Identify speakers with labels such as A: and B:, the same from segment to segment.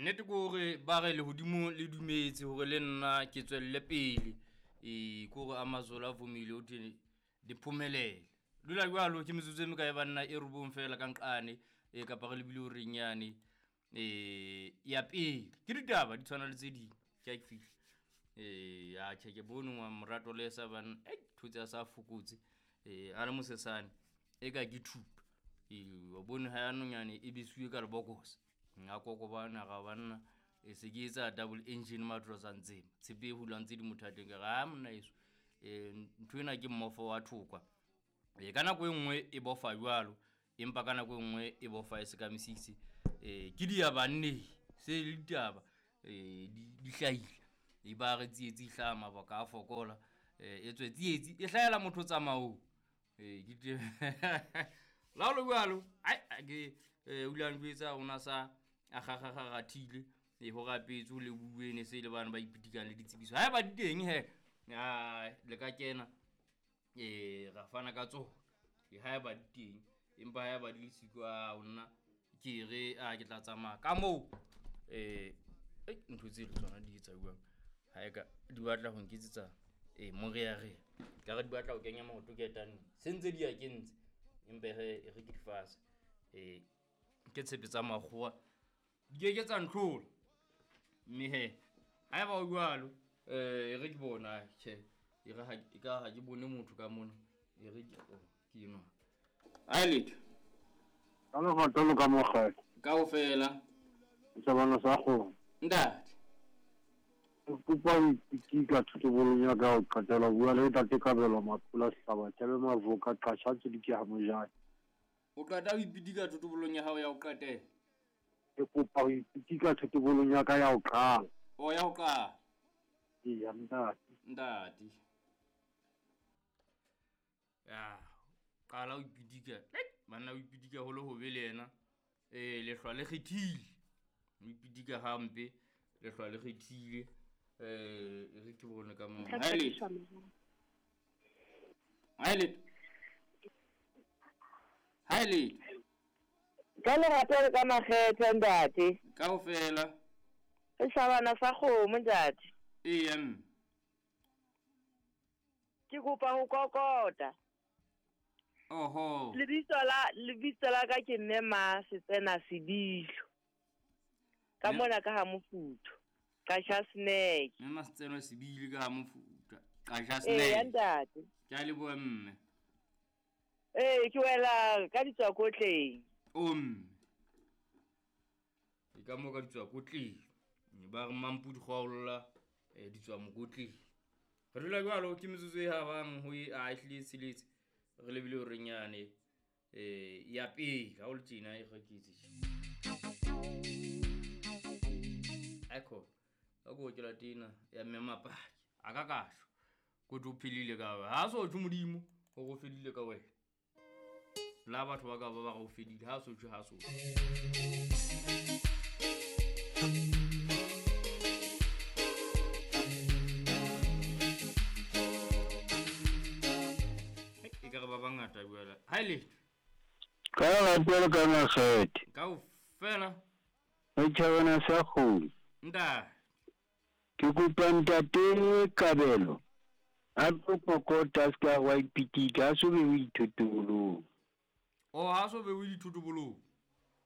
A: Nnete ke hore ba re lehodimo le dumetse hore le nna ke tswelle pele. Ke hore Amazola a vomile ho thwe di phomelele. Dula jwalo ke metsotso e mekae banna e robong fela ka nqane e kapa re lebile horeng yane ya pele. Ke ditaba di tshwana le tse ding. Ke a ke fihla. A tjhe ke bone ngwa morato le sa banna. Thotse a sa fokotse. A le mosesane e ka ke thupa. Wa bone ha ya nonyane e besuwe ka lebokose. A kokobana ga banna e se ke etsa double engine matrosa ntseng. Tshepe e hulang tse di mothateng ka re ha monna eso. Ntho ena ke mmofo wa thokwa. Ka nako e nngwe e bofa jwalo, empa ka nako e nngwe e bofa e se ka mesitse. Ke diyabanne se le ditaba di hlahile. E ba re tsietsi e hlaha mabaka a fokola. E tswe tsietsi e hlahela motho tsamaong. Ke tje la ho le jwalo, ai ke o ile a njwetsa o na sa a kgakgakgarathile. Ho rapetswe ho lebuwe ne se le bana ba ipitikang le ditsebiso. Haeba di teng he, le ka kena. Ra fana ka tsona. Haeba di teng, empa haeba di le siko, a nna ke re a ke tla tsamaya ka moo. Ntho tse le tsona di etsa jwang? Ha e ka di batla ho nketsetsa morearea. Ka re di batla ho kenya maoto ketane. Se ntse di ya kentse. Empa e re ke di fase. Ke tshepe tsa makgowa. Di ke ke tsa ntlhola. Mme he, haeba ho jwalo, e re ke bona, tjhe, e re ha e ka ha ke bone motho ka mona. E re ke, oh, ke enwa. Ai letho.
B: Ka lerato le ka mokgele.
A: Kaofela.
B: Setjhabana sa kgomo.
A: Ntate.
B: Ke kopa ho ipitika thotobolong ya ka ya ho qetela. Bua le ntate Kabelo Mapula Sehlaba, Thebe Mavoka, Qasha Tsidiki ha Mojane.
A: O qeta ho ipitika thotobolong ya hao ya ho qetela?
B: Ke kopa ho ipitika thotobolong ya ka ya ho qala.
A: O ya ho qala?
B: Eya, ntate.
A: Ntate. Ya, qala ho ipitika. Banna ho ipitika ho le hobe le yena. Lehlwa le kgethile. Ho ipitika hampe, lehlwa le kgethile. Re ke bone ka moo. Ha letho. Ha letho. Ha letho.
C: Ka lerato le ka makgethe ntate.
A: Kaofela.
C: Re hlabana sa kgomo ntate.
A: Eya mme.
C: Ke kopa ho kokota.
A: Oho.
C: Lebitso la ka ke mme Ma Setsena Sebilo. Ka mona ka ha Mofuthu. Qasha Snack.
A: Mme Ma Setsena Sebilo ka ha Mofuthu. Qasha Snack.
C: Eya ntate.
A: Ke a leboha mme.
C: Ke wela ka ditswakotleng.
A: O mme. Ke ka mo ka ditswakotleng. Ba re mampudi kgwaolla ditswamokotleng. Re dula jwalo ke metsotso e habang ho e a ehlile tsheletse. Re lebile hore nyane ya pele ha o le tjena e reketse. Aiko ka go ke la tena ya mme Mapaki a ka kasho go tlo philile ka wa ha so tjho Modimo go go fedile ka wena. La batho ba ka ba ba go fedile ha so tjho ha so. E ka re ba bangata jwale. Ha le.
B: Ka lerato le ka makgethe.
A: Kaofela.
B: Setjhabana sa kgomo.
A: Ntate.
B: Ke kopa ntate Kabelo a tlo kokota a se ka wa ipitika, a so be o ithotobolong.
A: O ha so be o ithotobolong?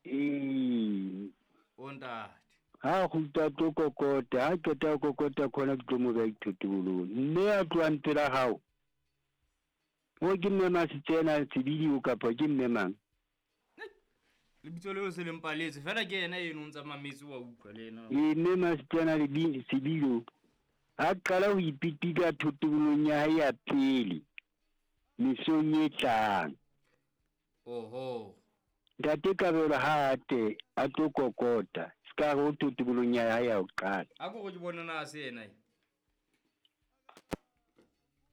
B: Ee.
A: O ntate.
B: Ha kgutla tlo kokota, ha qeta ho kokota khona ke tlo mo beha dithotobolong. Mme a tlohang pela hao. O ke mme Masitsena Sebidi kapa ke mme mang?
A: Lebitso leo se le mpaletse fela ke yena eno o ntsa mametse wa utlwa le yena.
B: Mme Masitsena Sebidi ha qala ho ipitika thotobolong ya hae ya pele mesong e tlang.
A: Oho.
B: Ntate Kabelo ha ate a tlo kokota se ka re o thotobolong ya hae ya ho qala.
A: A ko ke bona na se yena e.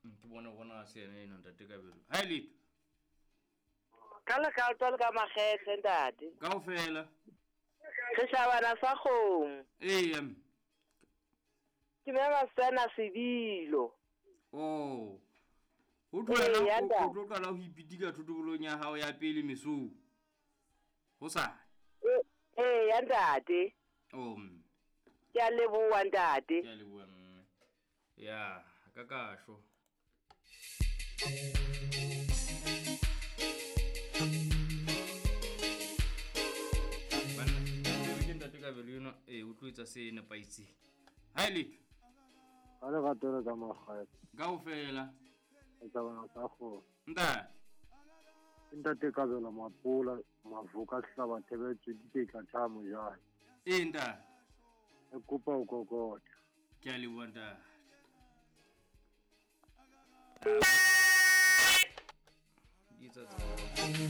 A: Ke bona bona se yena eno ntate Kabelo. Ha letho.
C: Ka lerato le ka makgethe ntate.
A: Kaofela.
C: Re hlabana sa kgomo.
A: Eya.
C: Ke mme Masitsena Sebilo.
A: Oh. O tlo qala ho ipitika thotobolong ya hao ya pele mesong. Ho sa.
C: Eya ntate.
A: Oh mme.
C: Ke a leboha ntate.
A: Ke a leboha mme. Ya, ka kasho. Banna, ke ntate Kabelo enwa, ee, o tlo etsa se nepahetseng. Ha e letho.
B: Ka lerato le ka makgethe.
A: Kaofela.
B: Re tsamaya sa kgona.
A: Ntate.
B: Ke ntate Kabelo Mapola, Mavoka Sehlaba Thebe Tswediketla Tha Mojane.
A: Ee ntate.
B: Re kopa ho kokota.
A: Ke a leboha ntate. Di etsa tsa.